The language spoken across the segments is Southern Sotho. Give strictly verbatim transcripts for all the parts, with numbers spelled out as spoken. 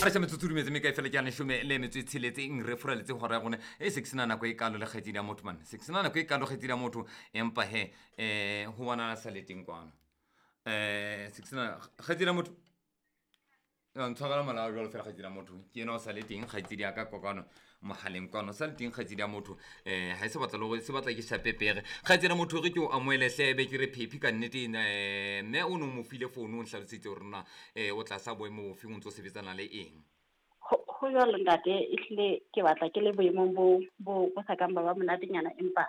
A re ša metsotso dumetse mme kae fela ke a leshome le metso e tsheletseng re furaletse hora ya rona e se ke sena nako e kalo le kgaitsedi ya motho mane se ke sena nako e kalo kgaitsedi ya motho empa he um ho bonala sa le teng kwano um se ke sena kgaitsedi ya motho. Ntshwarela molao jalo fela kgaitsedi ya motho ke ena o sa le teng kgaitsedi ya ka kwakano mogaleng kwano sa le teng kgaitsedi ya motho um ga e se batla le gore se batla ke shapepere kgaitsedi ya motho re ke o amoelehle be ke re phephi ka nnete um mme o ne o mo file founu o ntlhalositse gore na um o tlasa boemo bofe o ntse o sebetsana le eng. Ho jwalo ntate, ehlile ke batla ke le boemong bo bo bo sa kang ba ba monatenyana, empa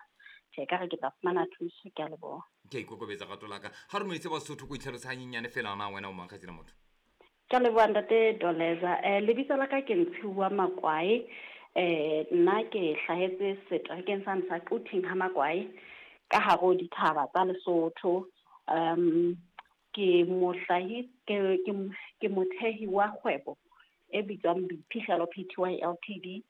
tjhe ka re ke tla fumana thuso, ke a leboha. Ke a ikokobetsa rato la ka ga re moetse Basotho ko itlhalosa hanyenyane fela na wena o mang kgaitsedi ya motho. Ke a leboha ntate Doleza. Eh lebitso la ka ke Ntshiwa Makwae. Eh nna ke hlahetse seterekeng sane sa Quthing ha Makwae ka hare ho dithaba tsa Lesotho. Um ke mohlahi ke ke ke mothehi wa kgwebo e bitswang Boiphihlelo P T Y L T D.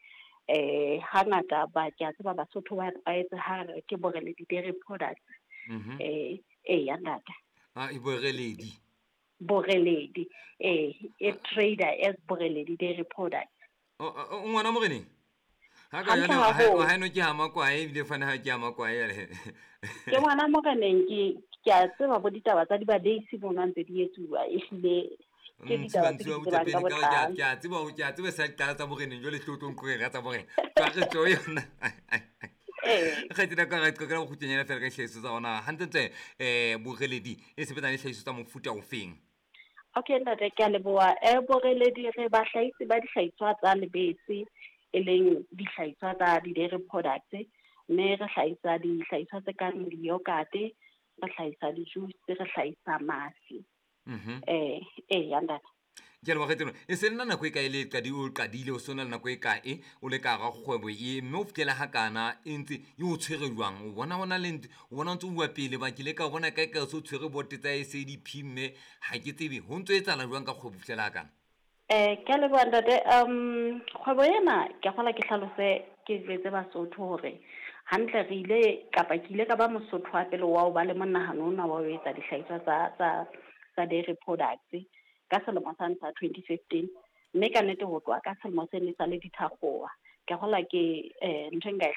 Eh hangata ba ke a tseba Basotho ba tlwaetse ha re ke Boreledi Dairy Products. Mhm. Eh eh ya ntate. Ah e Boreledi. Boreledi eh e trader as Boreledi Dairy Products. O o ngwana moreneng ha ka Hantle jana haholo. ha no ke ha Makwae ebile fana ha ke ha Makwae ele. Ke ngwana moreneng ke ke a tseba bo ditaba tsa di-badeisi mono ntse di etsuwa ehlile ke ditaba tse Ntshiwa di tsebang ka Butapele ka ke a botlalo. ke a tseba ke a tseba sa qala tsa moreneng jwale tlo tlo nqoeng ka tsa moreneng ka re tso yona. Eh. Kgaitsedi ka re qoqela bokgutshwanyane fela ka dihlahiso tsa rona hantlentle eh Boreledi e sebetsana le dihlahiso tsa mofuta ofeng. Okay ntate, ke a leboha. Eh Boreledi re bahlahisi ba dihlahiswa tsa lebese e leng dihlahiswa tsa di-dairy products, mme re hlahisa dihlahiswa tse kang di-yogurt, re hlahisa di-juice, re hlahisa mafi. Mhm. Eh eh ya ntate. Ke a leboha kgaitsedi. E se nna nako e kae le qadi o qadile o sona le nako e kae o le ka hara kgwebo e mme o fihlela ha kana e ntse e o tshwere jwang o bona hona le ntse o bona o ntse o bua pele ba ke le ka bona kae kae o se o tshwere bote tsa S A D P mme ha ke tsebe ho ntso etsahala jwang ka kgwebo ho fihlela ha kana. Eh ke a leboha ntate. Um kgwebo ena ke kgola ke hlalose ke jwetse Basotho hore hantle re ile kapa ke ile ka ba Mosotho wa pele wa ho ba le monahano ona wa ho etsa dihlahiswa tsa tsa tsa dairy products ka selemo sa sa twenty fifteen, mme ka nnete ho tloha ka selemo seno e sa le dithakgowa. Ke kgola ke eh ntho e nka e